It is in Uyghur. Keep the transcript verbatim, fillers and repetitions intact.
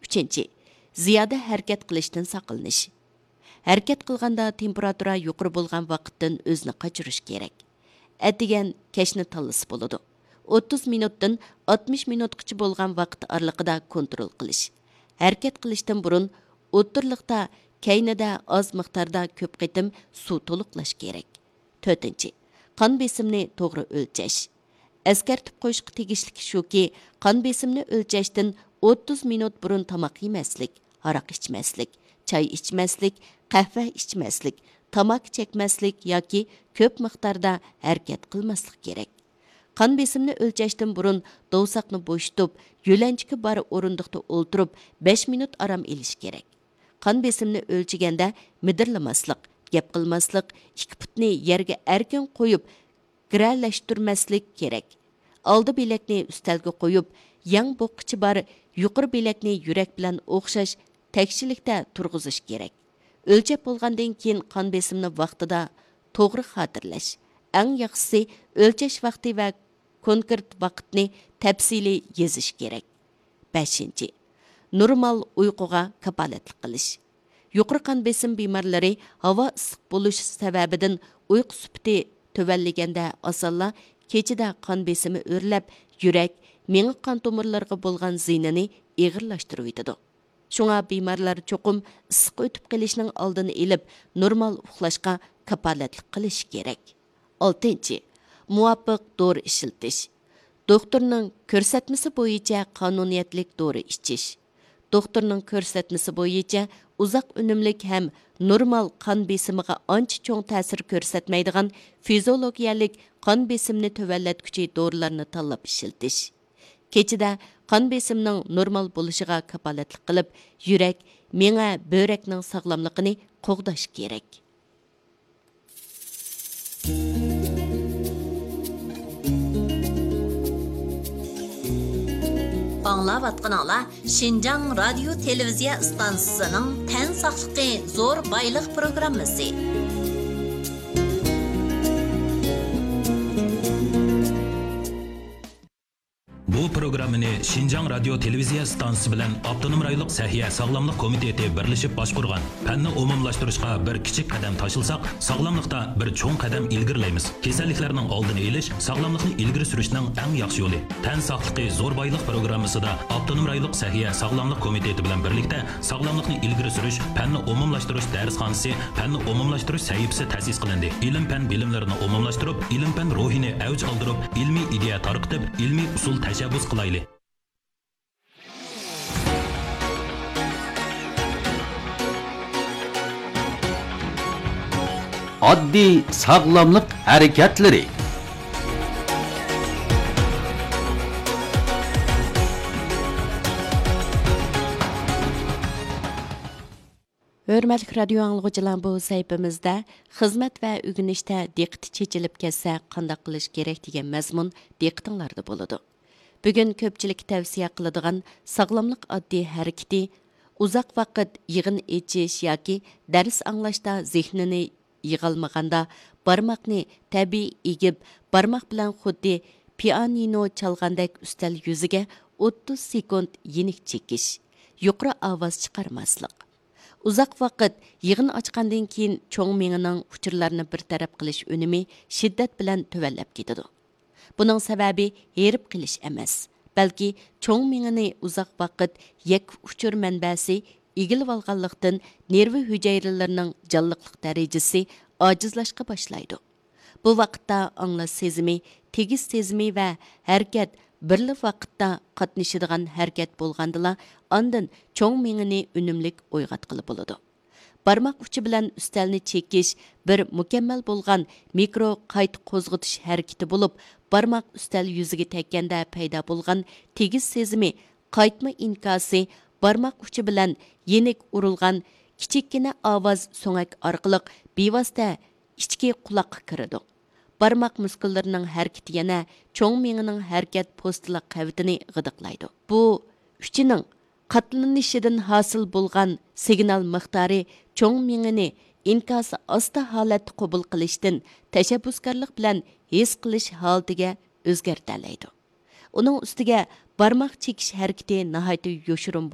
ئۈچىنچى، زىيادە ھەرىكەت قىلىشتىن ساقلىنىش. ھەرىكەت قىلغاندا تېمپېراتۇرا يۇقىرى بولغان ۋاقىتتىن ئۆزىنى قاچۇرۇش كېرەك. ئەتىگەن، كەچنى تاللىسا بولىدۇ. ئوتتۇز مىنۇتتىن ئاتمىش مىنۇتقىچە بولغان ۋاقىت ئارىلىقىدا كونترول قىلىش. ھەرىكەت قىلىشتىن بۇرۇن ئوتتۇرىلىقتا، كەينىدە ئاز مىقداردا كۆپ قېتىم سۇ تولۇقلاش كېرەك. تۆتىنچى، قان بېسىمنى توغرا ئۆلچەش. ئەسكەرتىپ قويۇشقا تېگىشلىكى شۇكى، قان بېسىمنى ئۆلچەشتىن ئوتتۇز مىنۇت بۇرۇن تاماق يېمەسلىك، ھاراق ئىچمەسلىك، چاي ئىچمەسلىك، قەھۋە ئىچمەسلىك، تاماكا چەكمەسلىك ياكى كۆپ مىقداردا ھەرىكەت قىلماسلىق كېرەك. قان بېسىمنى ئۆلچەشتىن بۇرۇن دوۋساقنى بوشىتىپ، يۆلەنچۈكى بار ئورۇندۇقتا ئولتۇرۇپ، بەش مىنۇت ئارام ئېلىش كېرەك. قان بېسىمنى ئۆلچىگەندە مىدىرلىماسلىق، گەپ قىلماسلىق، ئىككى پۇتنى يەرگە ئەركىن قويۇپ، گىرەلەشتۈرمەسلىك كېرەك. ئالدى بىلەكنى ئۈستەلگە قويۇپ، يەڭ بوغقىچى بار يۇقىرى بىلەكنى يۈرەك بىلەن ئوخشاش تەكشىلىكتە تۇرغۇزۇش كېرەك. ئۆلچەپ بولغاندىن كېيىن قان بېسىمنى ۋاقتىدا توغرا خاتىرىلەش. ئەڭ ياخشىسى، ئۆلچەش ۋاقتى ۋە كونكرېت ۋاقىتنى تەپسىلىي يېزىش كېرەك. بەشىنچى، نورمال ئۇيقۇغا كاپالەتلىك قىلىش. يۇقىرى قان بېسىم بىمارلىرى ھاۋا ئىسسىق بولۇش سەۋەبىدىن ئۇيقۇ سۈپىتى تۆۋەنلىگەندە، ئاسانلا كېچىدە قان بېسىمى ئۆرلەپ، يۈرەك، مېڭە قان تومۇرلىرىغا بولغان زىيىنىنى ئېغىرلاشتۇرۇۋېتىدۇ. شۇڭا بىمارلار چوقۇم ئىسسىق ئۆتۈپ قېلىشنىڭ ئالدىنى ئېلىپ، نورمال ئۇخلاشقا كاپالەتلىك قىلىشى كېرەك. ئالتىنچى، مۇۋاپىق دورا ئىشلىتىش. دوختۇرنىڭ كۆرسەتمىسى بويىچە قانۇنىيەتلىك دورا ئىچىش. دوختۇرنىڭ كۆرسەتمىسى بويىچە ئۇزاق ئۈنۈملۈك ھەم نورمال قان بېسىمىغا ئانچە چوڭ تەسىر كۆرسەتمەيدىغان فىزىئولوگىيەلىك قان بېسىمنى تۆۋەنلەتكۈچى دورىلارنى تاللاپ ئىشلىتىش. كېچىدە قان بېسىمنىڭ نورمال بولۇشىغا كاپالەتلىك قىلىپ، يۈرەك، مېڭە، بۆرەكنىڭ ساغلاملىقىنى قوغداش كېرەك. ئاڭلاۋاتقىنىڭلار شىنجاڭ رادىيو تېلېۋىزىيە ئىستانسىسىنىڭ تەن ساقلىقى زور بايلىق پروگراممىسى. بۇ پروگراممىنى شىنجاڭ رادىيو تېلېۋىزىيە ئىستانسىسى بىلەن ئاپتونوم رايونلۇق سەھىيە ساغلاملىق كومىتېتى بىرلىشىپ باشقۇرغان پەننى ئومۇملاشتۇرۇشقا بىر كىچىك قەدەم تاشلىساق، ساغلاملىقتا بىر چوڭ قەدەم ئىلگىرىلەيمىز. كېسەللىكلەرنىڭ ئالدىنى ئېلىش، ساغلاملىقنى ئىلگىرى سۈرۈشنىڭ ئەڭ ياخشى يولى. تەن ساقلىقى زور بايلىق پروگراممىسىدا ئاپتونوم رايونلۇق سەھىيە ساغلاملىق كومىتېتى بىلەن بىرلىكتە ساغلاملىقنى ئىلگىرى سۈرۈش، پەننى ئومۇملاشتۇرۇش دەرسخانىسى، پەننى ئومۇملاشتۇرۇش سەھىپىسى تەسىس قىلىندى. ئىلىم-پەن بىلىملىرىنى ئومۇملاشتۇرۇپ، ئىلىم-پەن روھىنى ئەۋج ئالدۇرۇپ، ئىلمىي ئىدىيە تارقىتىپ، ئىلمىي ئۇسۇل تەشەببۇس قىلايلى. ئاددىي ساغلاملىق ھەرىكەتلىرى. ھۆرمەتلىك رادىيو ئاڭلىغۇچىلار، بۇ سەھىپىمىزدە خىزمەت ۋە ئۆگىنىشتە دىققىتى چېچىلىپ كەتسە قانداق قىلىش كېرەك دېگەن مەزمۇن دىققىتىڭلاردا بولىدۇ. بۈگۈن كۆپچىلىككە تەۋسىيە قىلىدىغان ساغلاملىق ئاددىي ھەرىكىتى، ئۇزاق ۋاقىت يىغىن ئېچىش ياكى دەرس ئاڭلاشتا زېھنىنى يىغالمىغاندا، بارماقنى تەبىئىي ئېگىپ، بارماق بىلەن خۇددى پىئانىنو چالغاندەك ئۈستەل يۈزىگە ئوتتۇز سېكۇنت يېنىك چېكىش، يۇقىرى ئاۋاز چىقارماسلىق. ئۇزاق ۋاقىت يىغىن ئاچقاندىن كېيىن چوڭ مېڭىنىڭ ئۇچۇرلارنى بىر تەرەپ قىلىش ئۈنۈمى شىددەت بىلەن تۆۋەنلەپ كېتىدۇ. بۇنىڭ سەۋەبى ھېرىپ قېلىش ئەمەس، بەلكى چوڭ مېڭىنى ئۇزاق ۋاقىت يەككە ئۇچۇر مەنبەسى ئىگىلىۋالغانلىقتىن، نېرۋا ھۈجەيرىلىرىنىڭ جانلىقلىق دەرىجىسى ئاجىزلاشقا باشلايدۇ. بۇ ۋاقىتتا ئاڭلاش سېزىمى، تېگىش سېزىمى ۋە ھەرىكەت بىرلا ۋاقىتتا قاتنىشىدىغان ھەرىكەت بولغاندىلا، ئاندىن چوڭ مېڭىنى ئۈنۈملۈك ئويغاتقىلى بولىدۇ. بارماق ئۇچى بىلەن ئۈستەلنى چېكىش بىر مۇكەممەل بولغان مىكرو قايتا قوزغىتىش ھەرىكىتى بولۇپ، بارماق ئۈستەل يۈزىگە تەگكەندە پەيدا بولغان تېگىش سېزىمى، قايتما ئىنكاسى، بارماق ئۇچى بىلەن يېنىك ئۇرۇلغان كىچىككىنە ئاۋاز سۆڭەك ئارقىلىق بىۋاسىتە ئىچكى قۇلاققا كىرىدۇ. بارماق مۇسكۇللىرىنىڭ ھەرىكىتى يەنە چوڭ مېڭىنىڭ ھەرىكەت پوستىلىق قەۋىتىنى غىدىقلايدۇ. بۇ ئۇچىنىڭ قاتلىنىشىدىن ھاسىل بولغان سىگنال مىقدارى چوڭ مېڭىنى ئىنكاسى ئاستا ھالەتتە قوبۇل قىلىشتىن تەشەببۇسكارلىق بىلەن ھېس قىلىش ھالىتىگە ئۆزگەرتەلەيدۇ. ئۇنىڭ ئۈستىگە بارماق چېكىش ھەرىكىتى ناھايىتى يوشۇرۇن